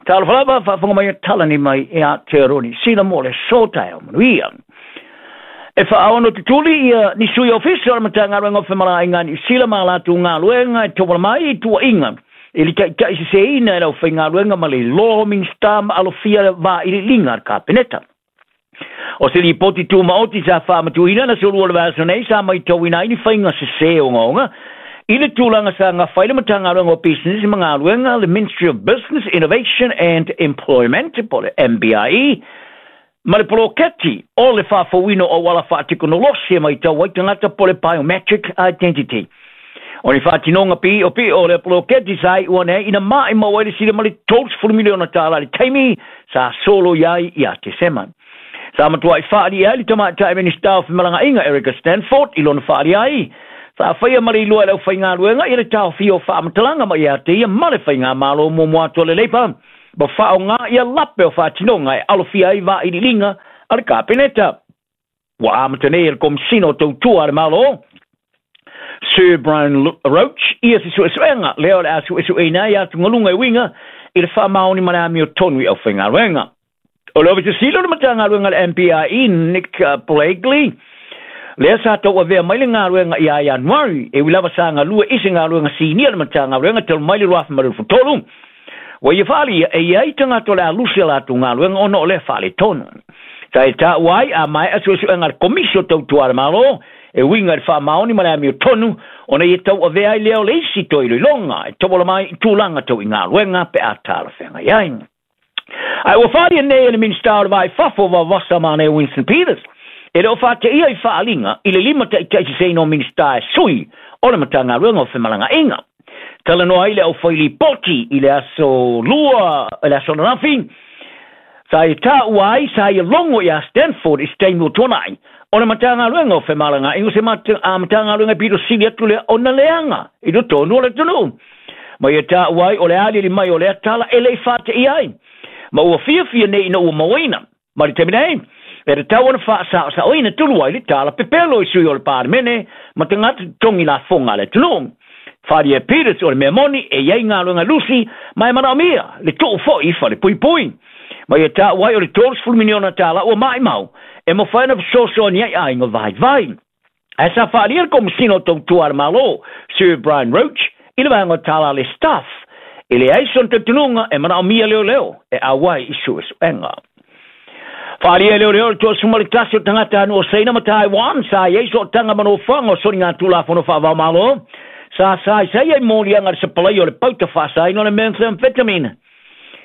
Talofa lava, faafofoga mai e talani mai i Aotearoa Niu Sila mo le aso taeao manuia. E faaono tutuli ia ni sui ofisa o le Matagaluega o Femalagaaiga a Niu Sila ma a latou galuega e tauala mai i tuuaiga i le taitaiseseina e le aufaigaluega ma le iloa o Minisita ma alofia le vailiiliga a le Kapeneta. O se lipoti tumaoti sa faamatuuina le aso Lua o le vaiaso nei sa maitauina ai ni faiga sese ogaoga i le tulaga sa gafa ai le Matagaluega o Pisinisi ma Galuega, le Ministry of Business, Innovation and Employment, po o le MBIE, ma le poloketi o le faafouina o auala faatekonolosi e maitau ai tagata po o le biometric identity. O ni faatinoga piiopio o lea poloketi sa iu ane ai ina maimau ai le sili ma le $30 miliona tala i le taimi sa soloia ai ia Tesema. Sa matuai faaalia ai le tamaitai Minisita o Femalagaaiga Erica Stanford i lona faaalia ai, sa faia ma le iloa e le aufaigaluega i le taofia o faamatalaga mai ia te ia ma le faigamalo muamua atu a le Labour ma faaaoga ia lape o faatinoga e alofia ai vailiiliga a le Kapeneta. Ua amata nei e le Komesina o Tautua a le Malo, Sir Brian Roach, ia se suesuega lea o le a suesueina ai atugaluga e uiga i le faamaoni ma le amiotonu i aufaigaluega. O le Ofisa Sili o le Matagaluega a le MPIE, Nick Blakely, lea sa tauavea mai le galuega ia Ianuari, e ui lava sa galue i se galuega sinia le Matagaluega talu mai le 2023, ua ia faaalia e i ai tagata o le a lusi a latou galuega ona o lea faaletonu. Sa e taua ai a maea suesuega a le Komisi o Tautua a le Malo e uiga i le faamaoni ma le amiotonu ona ia tauavea ai lea o le isi toe iloiloga e tauala mai i tulaga tau i galuega pe a talafeagai ai. Ae ua faaalia nei e le Minisita o le Va i Fafo Vavasa Manea Winston Peters, e le o faateia i faaaliga i le limataitaiseseina o Minisita e sui o le Matagaluega o Femalagaaiga. Talanoa ai le aufai lipoti i le aso Lua, i le aso ananafi, sa ia taua ai sa ia logo iā Stanford i se taimi ua tuanai, o le Matagaluega o Femalagaaiga o se Matagaluega e pito sili atu lea ona leaga i totonu o le atunuu. Ma ia taua ai o le aliali mai o lea tala e le i faateia ai, ma ua fiafia nei ina ua mauaina. Ma le taimi nei, e tatau ona faasaosaoina tulu ai le tala pepelo i sui o le Palemene ma tagata totogi lafoga a le atunuu. Wharia Peters o le mea moni e i ai galuega lusi ma e manaomia le tuu foi i falepuipui. Ma ia taua ai o le $30 miliona tala ua maimau e mafai ona fesoasoani ai aiga vaivai. Ae sa faaalia le Komesina o Tautua a le Malo, Sir Brian Roach, i le vaega o tala a le Staff, e leai sona talitonuga e manaomia leoleo e auai i suesuega. Faaalia e leoleo le 31 o tagatanuu o Saina ma Taiwan sa i ai sootaga ma nofoaga o soligatulafono faava-o-Malo sa saisai ai moliaga i le sapalaia o le pauta faasaina o le methamphetamine.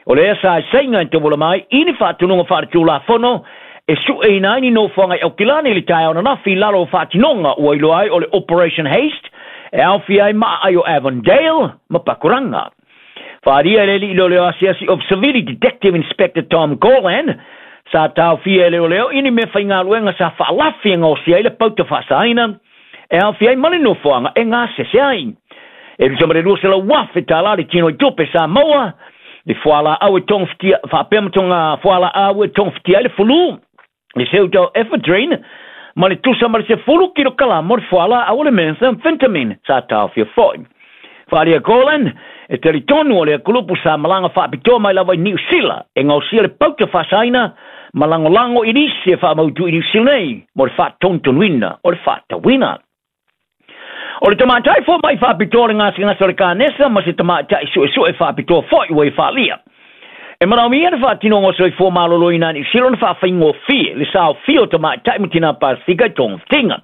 O lea saisaiga e tauala mai i ni faatonuga faaletulafono e sueina ai ni nofoaga i Aukilani i le taeao ananafi i lalo o faatinoga ua iloa ai o le Operation Haste e aofia ai maaai o Avondale ma Pakuranga. Faaalia e le alii leoleo asiasi of Savili Detective Inspector Tom Gorland sa taofia e leoleo i ni mea faigaluega sa faalafi e gaosia ai le pauta faasaina e aofia ai ma le nofoaga e gasese ai. E tusa ma le $200,000 le tino i tupe sa maua i fualaau e togafitia, faapea ma toga fualaau e togafitia ai le fulu, le pseudoephedrine, ma le tusa ma le 10 kilokalama o le fualaau o le methamphetamine sa taofia foi. Faaalia Gorland, e talitonu o lea kulupu sa malaga faapitoa mai lava i Niu Sila e gaosia le pauta faasaina ma lagolago i nisi e faamautu i Niu Sila nei mo le faatonutonuina o le faatauina. O le tamaitai fomai faapitoa o le gasegase o le kanesa ma se tamaitai suesue faapitoa foi ua ia faaalia. E manaomia le faatinoga o soifua maloloina a Niu Sila ona faafaigofie le saofia o tamaitai ma tina Pasifika i togafitiga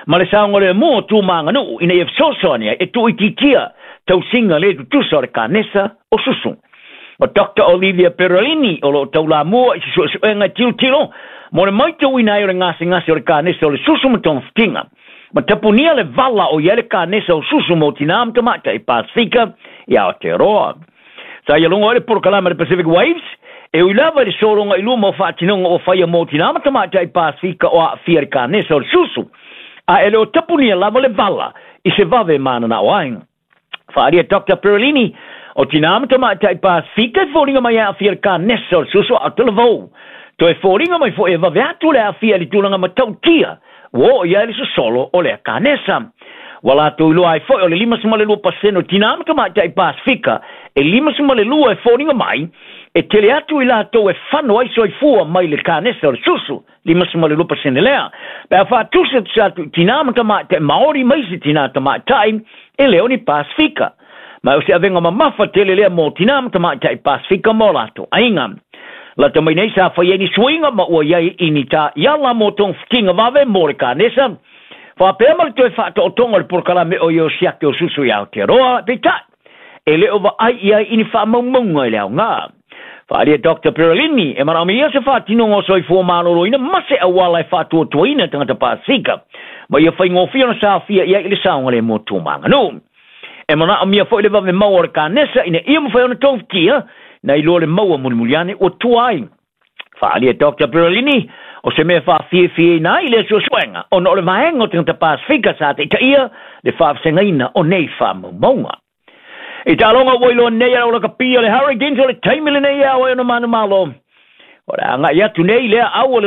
ma le saogalemu o tu ma aganuu ina ia fesoasoani ai e tuuitiitia tausiga le tutusa o le kanesa o susu. O Doctor Olivia Perolini o lo o taulamua i se suesuega e tilotilo mo le maitauina ai o le gasegase o le kanesa o le susu ma togafitiga ma tapunia le vala o i ai le kanesa o susu mo tinā ma tamaitai Pasifika i Aotearoa. Sa ia logo ai le polokalame a le Pacific Waves e ui lava i le sologa i luma o faatinoga ua faia mo tinā ma tamaitai Pasifika o aafia i le kanesa o le susu, a e le o tapunia lava le vala i se vave mananao ai. Faaalia Doctor Perolini, o tinā ma tamaitai Pasifika e foliga mai e aafia i le kanesa o le susu a o talavou. Toe foliga mai foi e vave atu le aafia i le tulaga matautia ua oo i ai le sosolo o lea kanesa. Ua latou iloa ai foi o le 52% o tinā ma tamaitai Pasifika e 52 e foliga mai E tele atu i latou e fano ai soifua mai le kanesa o le susu, 52% lea. Pe a faatusatusa atu i tinā ma tamaitai Maori ma isi tinā tamaitai e le o ni Pasifika. Ma o se avega mamafa tele lea mo tinā ma tamaitai Pasifika ma o latou aiga. Lata mai nei sa fai ai ni suiga ma ua i ai i ni taiala mo togafitiga vave mo le kanesa, faapea ma le toe faataotoga o le polokalame o ia o siaki o susu i Aotearoa, peitai, e le o vaai i ai i ni faamaumauga i le aoga. Faaalia Dr. Perelini e manaomia se faatinoga o soifua maloloina ma se auala e faatuatuaina tagata Pasifika, ma ia faigofie ona saofia i ai i le saogalemu tu ma aganuu. E manaomia foi le vave maua o le kanesa ina ia mafai ona togafitia nai lo le maua mulimuli ane ua tua ai. Faaalia Dr. Perelini, o se mea faafiafiaina ai le suesuega ona o le vaega o tagata Pasifika sa taitaia le faavasegaina o nei faamaumauga. I taaloga ua iloa nei e lakapi o le Hurricanes o le taimi lenei e ao ai ona manumalo. O le agai atu nei lea au o le